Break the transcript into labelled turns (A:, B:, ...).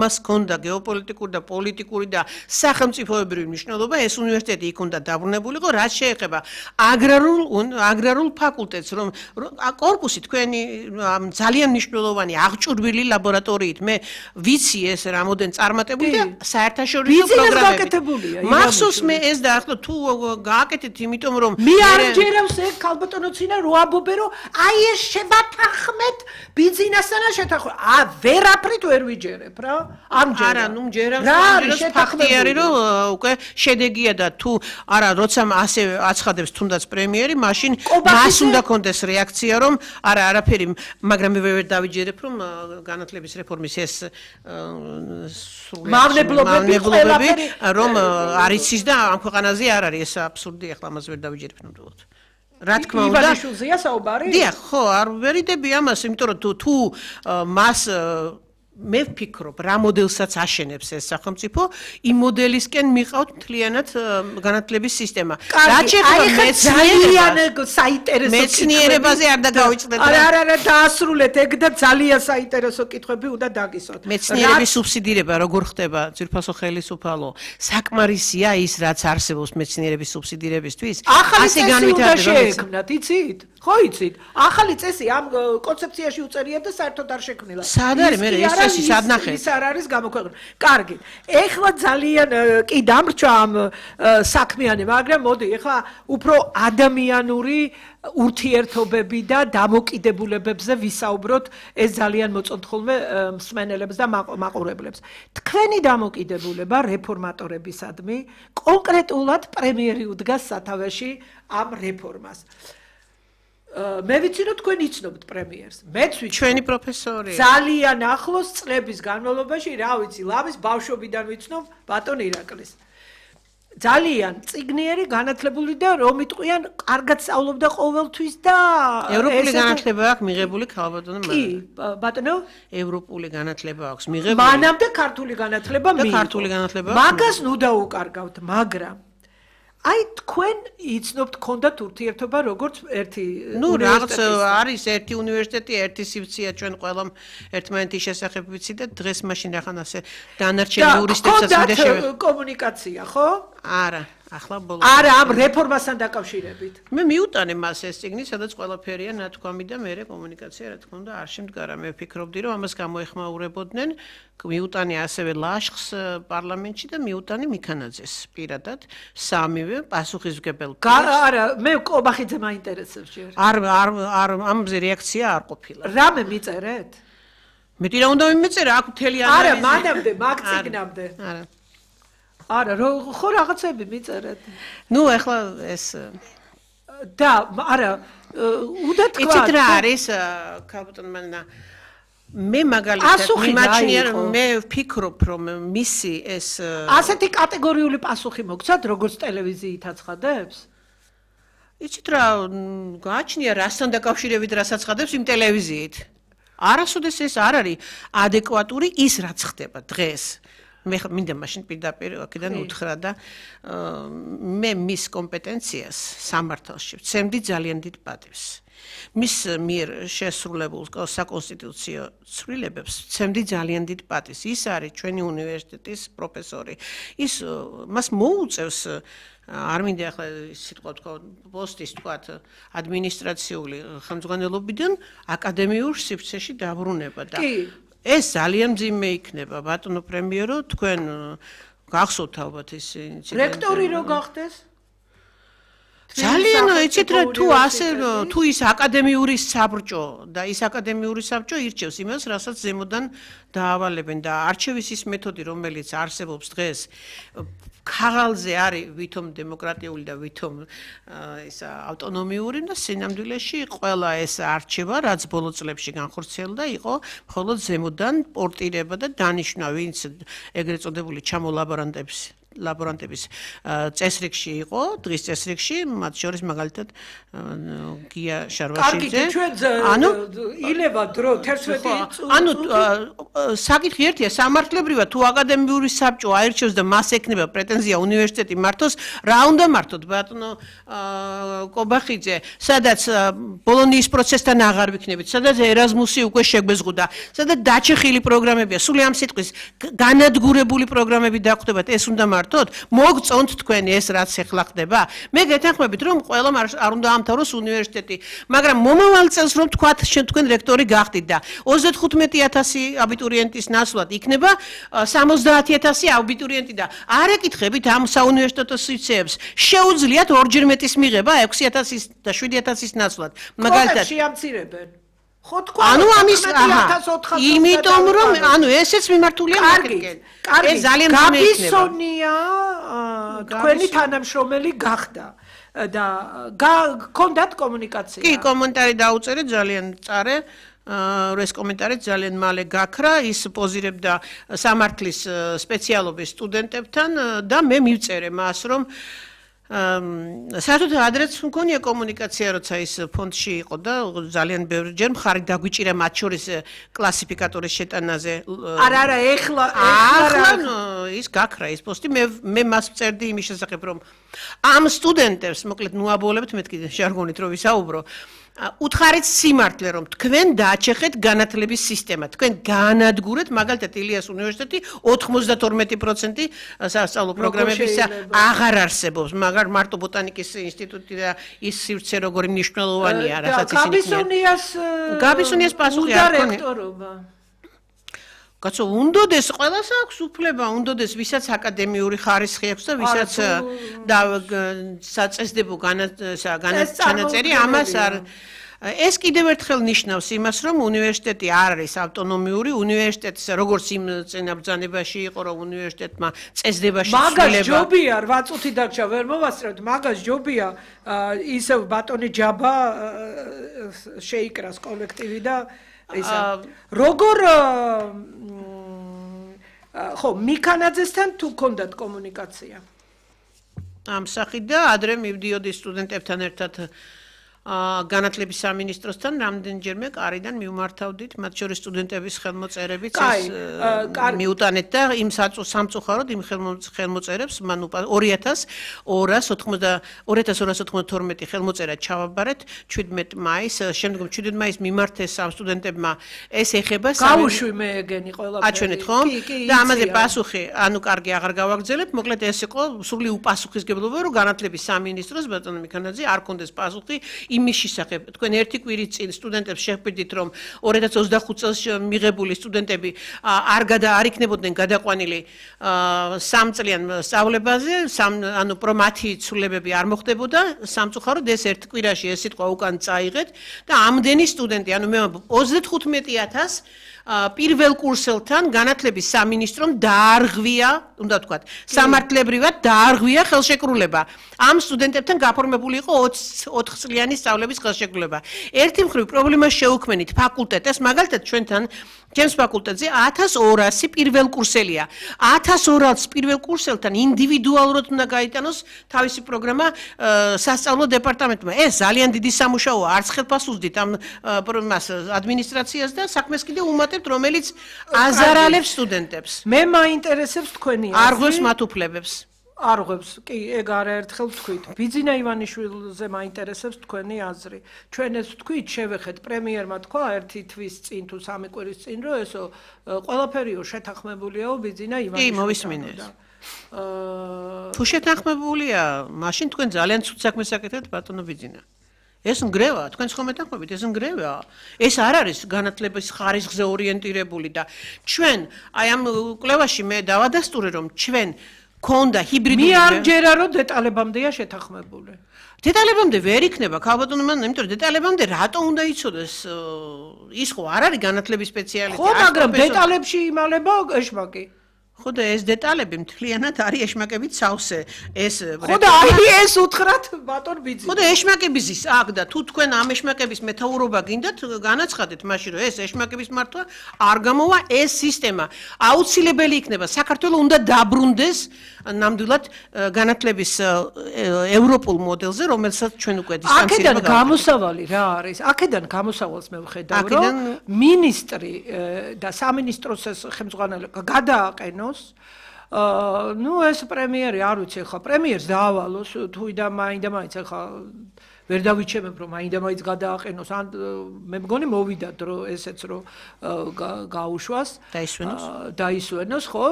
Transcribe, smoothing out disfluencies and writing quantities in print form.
A: მას ჰქონდა გეოპოლიტიკური და პოლიტიკური და სახელმწიფოებრივი მნიშვნელობა, ეს უნივერსიტეტი იქ უნდა დაბრუნებულიყო, რაც შეეხება აგრარულ ფაკულტეტს, რომ კორპუსი თქვენი ძალიან მნიშვნელოვანი აღჭურვილი ლაბორატორიით, მე ვიცი ეს რამოდენ წარმატებული და საერთაშორისო პროგრამები. მახსოვს მე ეს დაახლო თუ გააკეთეთ, იმიტომ რომ
B: მე არ ჯერავს ეგ ქალბატონოცინა რო ამბობე რომ აი ეს შევათანხმეთ ბიზნესთან შეთანხმება. ვერაფრით ვერ ვიჯერებ რა.
A: არა, ნუ ჯერავს ფაქტი არის რომ უკვე შედეგია და თუ არა, როცა ასე აცხადებს თუნდაც პრემიერი, მაშინ მას უნდა კონდეს რეაქცია რომ არა, არაფერი, მაგრამ მე ვერ დავიჯერებ რომ განათლების რეფორმის ეს
B: მავნებლობები
A: რომ არის ის და ამ ქვეყანაზე არ არის ეს აბსურდი, ახლა ამას ვერ დავიჯერებ ნამდვილად. რა თქმა უნდა,
B: ივანიშვილზეა საუბარი?
A: დიახ, ხო, არ ვერიდები ამას, იმიტომ რომ თუ მას მე ვფიქრობ, რა მოდელსაც აშენებს ეს სახელმწიფო, იმ მოდელისკენ მიყავთ მთლიანად განათლების სისტემა. რაც შეეხება მეცნიერებაზე არ დაგავიწყდეთ.
B: არა, დაასრულეთ ეგ და ძალიან საინტერესო კითხვები უნდა დაგისვათ.
A: მეცნიერების სუბსიდირება როგორ ხდება ძვირფასო ხელისუფალო? საკმარისია ის, რაც არსებობს მეცნიერების სუბსიდირებისთვის?
B: ასე განვითარდება. იცით? ხო იცით? ახალი წესი ამ კონცეფციაში უწერია და საერთოდ არ შექმნილა.
A: სად არის მე ეს წესი სად ნახეთ?
B: ის არ არის გამოქვეყნებული. კარგი. ეხლა ძალიან კი დამრჩა ამ საქმიანი, მაგრამ მოდი, ეხლა უფრო ადამიანური ურთიერთობები და დამოკიდებულებებზე ვისაუბროთ, ეს ძალიან მოწონთ ხოლმე მსმენელებს და მაყურებლებს. თქვენი დამოკიდებულება რეფორმატორებისადმი კონკრეტულად პრემიერი უდგას სათავეში ამ რეფორმას. მე ვიცი რომ თქვენ იცნობთ პრემიერს. მეც ვიცი.
A: ჩვენი პროფესორი.
B: ძალიან ახლოს წლების განმავლობაში, რა ვიცი, ლავის ბავშვობიდან ვიცნობ ბატონ ირაკლის. ძალიან წიგნიერი, განათლებული და რომ იტყვიან, კარგად სწავლობდა ყოველთვის და
A: ევროპული განათლება აქვს მიღებული ქალბატონო
B: კი, ბატონო,
A: ევროპული განათლება აქვს მიღებული.
B: მანამდე ქართული განათლება მიიღო.
A: ქართული განათლება.
B: მაგას ნუ დაუკარგავთ, მაგრამ აი თქვენ იცნობთ ქონდათ ურთიერთობა როგორც ერთი
A: რაღაც არის ერთი უნივერსიტეტი, ერთი სივრცეა ჩვენ ყველამ ერთმანეთის შესახებ ვიცი და დღეს მაშინ რახან ასე დანარჩენ იურისტებსაც მინდა შევეხო.
B: კომუნიკაცია, ხო?
A: არა. ახლა ბოლოს.
B: არა, ამ რეფორმასთან დაკავშირებით.
A: მე მიუტანე მას ეს წიგნი, სადაც ყველაფერია ნათქვამი და მე კომუნიკაცია, რა თქმა უნდა, არ შემდგარა. მე ვფიქრობდი, რომ ამას გამოეხმაურებოდნენ. მიუტანე ასევე ლაშხს პარლამენტში და მიუტანე მიქანაძეს პირადად სამივე პასუხისმგებელ.
B: არა, მე კობახიძე მაინტერესებს ჯერ.
A: არ ამაზე რეაქცია არ ყოფილა.
B: რამე მიწერეთ?
A: მეტი რა უნდა მიმეწერა, აქ მთელი ანალიზი.
B: არა, მანამდე, მაგ წიგნამდე.
A: არა.
B: არა, ხო რაღაცები მიწერეთ.
A: ნუ ახლა ეს
B: და არა, უნდა თქვა.
A: იცით რა არის, ქალბატონო მანნა მე მაგალითად მიმაჩნია მე ვფიქრობ რომ მისი ეს
B: ასეთი კატეგორიული პასუხი მოგცათ როგორც ტელევიზიით აცხადებს?
A: იცით რა გააჩნია რასთან დაკავშირებით რაც აცხადებს იმ ტელევიზიით. არასოდეს ეს არ არის ადეკვატური ის რაც ხდება დღეს. მე მინდა მაშინ პირდაპირ აქედან უთხრა და მე მის კომპეტენციას სამართალში ვცემდი ძალიან დიდ პატივს. მის მიერ შესრულებულ საკონსტიტუციო ცვლილებებს ვცემდი ძალიან დიდ პატივს. ის არის ჩვენი უნივერსიტეტის პროფესორი. ის მას მოუწევს არ მინდა ახლა სიტყვა თქვა პოსტის თქვა ადმინისტრაციული ხელმძღვანელობიდან აკადემიურ სივრცეში დაბრუნება და ეს ძალიან მძიმე იქნება ბატონო პრემიერო თქვენ გახსოვთ ალბათ ის ინციდენტი
B: რექტორი რო გახდეს
A: ძალიან იცით რა თუ ასე თუ ის აკადემიური საბჭო და ის აკადემიური საბჭო ირჩევს იმას რასაც ზემოდან დაავალებენ და არჩევის ის მეთოდი რომელიც არსებობს დღეს ქაღალზე არის ვითომ დემოკრატიული და ვითომ ეს ავტონომიური და სინამდვილეში ყველა ეს არჩევა რაც ბოლო წლებში განხორციელდა იყო მხოლოდ ზემოდან პორტირება და დანიშვნა ვინც ეგრეთ წოდებული ჩამოლაბორანტებს ლაბორანტების წესრიგში იყო, დღის წესრიგში, მათ შორის მაგალითად გია შარვაშიძე.
B: ილევა დრო 11
A: ანუ საკითხი ერთია, სამართლებრივად თუ აკადემიური საბჭო აირჩევს და მას ექნება პრეტენზია უნივერსიტეტი მართოს, რა უნდა მართოთ ბატონო კობახიძე, სადაც ბოლონიის პროცესთან აღარ ვიქნებით, სადაც ერაზმუსი უკვე შეგვეზღუდა, სადაც დაჩეხილი პროგრამებია, სული ამ სიტყვის განადგურებული პროგრამები დაგვხვდებათ, ეს უნდა მართოთ? მოგწონთ თქვენი ეს რაც ახლა ხდება? მე გეთანხმებით რომ ყველამ არ უნდა ამთავროს უნივერსიტეტი, მაგრამ მომავალ წელს რომ თქვათ თქვენ რექტორი გახდით და 35000 აბიტურიენტის ნაცვლად იქნება 70000 აბიტურიენტი და არ ეკითხებით ამ საუნივერსიტეტო სივრცეებს, შეუძლიათ ორჯერ მეტის მიღება 6000 და 7000-ის ნაცვლად. მაგალითად
B: შეამცირებენ. ხო თქვა
A: ანუ ამის იმიტომ რომ ანუ ესეც მიმართულია მარკეტინგენ. ეს ძალიან
B: გაბისონია თქვენი თანამშრომელი გახდა და გქონდათ კომუნიკაცია.
A: კი, კომენტარი დაუწერე, ძალიან წარე. ეს კომენტარი ძალიან მალე გაქრა, ის პოზირებდა სამართლის სპეციალობის სტუდენტებთან და მე მივწერე მას რომ საერთოდ ადრეც მქონია კომუნიკაცია, როცა ის ფონდში იყო და ძალიან ბევრჯერ მხარი დაგვიჭირა მათ შორის კლასიფიკატორის შეტანაზე.
B: არა, ეხლა
A: ის გაქრა ის პოსტი, მე მას ვწერდი იმის შესახებ, რომ ამ სტუდენტებს, მოკლედ ნუაბოლებთ, მეთქი ჟარგონით რო ვისაუბრო, უთხარით სიმართლე რომ თქვენ დააჩეხეთ განათლების სისტემა, თქვენ განადგურეთ მაგალითად ილიას უნივერსიტეტი 92% სასწავლო პროგრამებისა აღარ არსებობს, მაგრამ მარტო ბოტანიკის ინსტიტუტი და ის სივრცე როგორი მნიშვნელოვანია, რასაც ისინი გაბისონიას პასუხი არ ქონია. კაცო, უნდოდეს ყველას აქვს უფლება, უნდოდეს ვისაც აკადემიური ხარისხი აქვს და ვისაც საწესდებო განაჩენაწერი ამას არ ეს კიდევ ერთხელ ნიშნავს იმას, რომ უნივერსიტეტი არ არის ავტონომიური, უნივერსიტეტს როგორც იმ წინაბრძანებაში იყო, რომ უნივერსიტეტმა წესდებაში
B: მაგას ჯობია 8 წუთი დარჩა, ვერ მოვასწრებთ, მაგას ჯობია ისევ ბატონი ჯაბა შეიკრას კოლექტივი და ისა როგორ ხო მიქანაძესთან თუ გქონდათ კომუნიკაცია?
A: ამ სახით და ადრე მივდიოდი სტუდენტებთან ერთად განათლების სამინისტროსთან რამდენჯერმე კარიდან მივმართავდით, მათ შორის სტუდენტების ხელმოწერებიც მიუტანეთ და იმ სამწუხაროდ იმ ხელმოწერებს მან 2292 ხელმოწერა ჩავაბარეთ 17 მაისს, შემდგომ 17 მაისს მიმართეს ამ სტუდენტებმა ეს ეხება
B: გავუშვი მე ეგენი ყველაფერი.
A: აჩვენეთ ხო? და ამაზე პასუხი, ანუ კარგი აღარ გავაგრძელებ, მოკლედ ეს იყო სრული უპასუხისგებლობა, რომ განათლების სამინისტროს ბატონო მიქანაძე არ კონდეს პასუხი იმის შესახებ, თქვენ ერთი კვირის წინ სტუდენტებს შეხვდით, რომ 2025 წელს მიღებული სტუდენტები არ იქნებოდნენ გადაყვანილი 3 წლიან სწავლებაზე, ანუ მათი ცვლილებები არ მოხდებოდა, სამწუხაროდ ეს ერთ კვირაში ეს სიტყვა უკან წაიღეთ და ამდენი სტუდენტი, ანუ მე 35000 პირველ კურსელთან განათლების სამინისტრომ დაარღვია, უნდა ვთქვათ, სამართლებრივად დაარღვია ხელშეკრულება. ამ სტუდენტებთან გაფორმებული იყო 4 წლიანი სწავლების ხელშეკრულება. ერთი მხრივ პრობლემა შეუქმნით ფაკულტეტებს, მაგალითად ჩვენთან ჩემს ფაკულტეტზე 1200 პირველ კურსელია. 1200 პირველ კურსელთან ინდივიდუალურად უნდა გაიტანოს თავისი პროგრამა სასწავლო დეპარტამენტმა. ეს ძალიან დიდი სამუშაოა, არც ხელფასუძდით ამ ადმინისტრაციას და საქმეს კიდევ უმატებთ, რომელიც აზარალებს სტუდენტებს.
B: მე მაინტერესებს თქვენი
A: არ ღვევს მათ უფლებებს.
B: არ ღვევს, კი, ეგ არაერთხელ ვთქვით. ბიძინა ივანიშვილზე მაინტერესებს თქვენი აზრი. ჩვენ ეს ვთქვით, შევეხეთ პრემიერმა თქვა ერთი თვის წინ თუ 3 კვირის წინ, რომ ესო ყველაფერიო შეთანხმებულია ბიძინა ივანიშვილთან.
A: კი, მოვისმინე. თუ შეთანხმებულია, მაშინ თქვენ ძალიან ცუდ საქმეს აკეთებთ ბატონო ბიძინა. ეს ნგრევა, თქვენ ხომ მეთანხმებით, ეს ნგრევა. ეს არ არის განათლების ხარისხზე ორიენტირებული და ჩვენ აი ამ კვლევაში მე დავადასტურე, რომ ჩვენ ქონდა ჰიბრიდული
B: მე არ ჯერა რომ დეტალებამდეა შეთანხმებული.
A: დეტალებამდე ვერ იქნება, ქალბატონო მან, იმიტომ რომ დეტალებამდე რატო უნდა იცოდეს ის ხო არ არის განათლების სპეციალისტი.
B: ხო, მაგრამ დეტალებში იმალება ეშმაკი.
A: ხო და ეს დეტალები მთლიანად არის ეშმაკებით სავსე. ეს
B: ხო და აი ეს უთხრათ ბატონ ბიძი.
A: ხო და ეშმაკების ის აქ და თუ თქვენ ამ ეშმაკების მეთაურობა გინდათ, განაცხადეთ მაშინ რომ ეს ეშმაკების მართვა არ გამოვა ეს სისტემა. აუცილებელი იქნება საქართველოს უნდა დაბრუნდეს ნამდვილად განათლების ევროპულ მოდელზე, რომელსაც ჩვენ უკვე
B: აქედან გამოსავალი რა არის? აქედან გამოსავალს მე ვხედავ, რომ მინისტრი და სამინისტროს ხელმძღვანელი გადააყენოს ну ეს პრემიერი არ ვიცი ხა პრემიერს დაავალოს თუ მაინდა-მაინც ხა ვერ დავიჩემებ რომ მაინდა-მაინც გადააყენოს ან მე მგონი მოვიდა დრო ესეც რომ გაუშვას
A: დაისვენოს
B: დაისვენოს ხო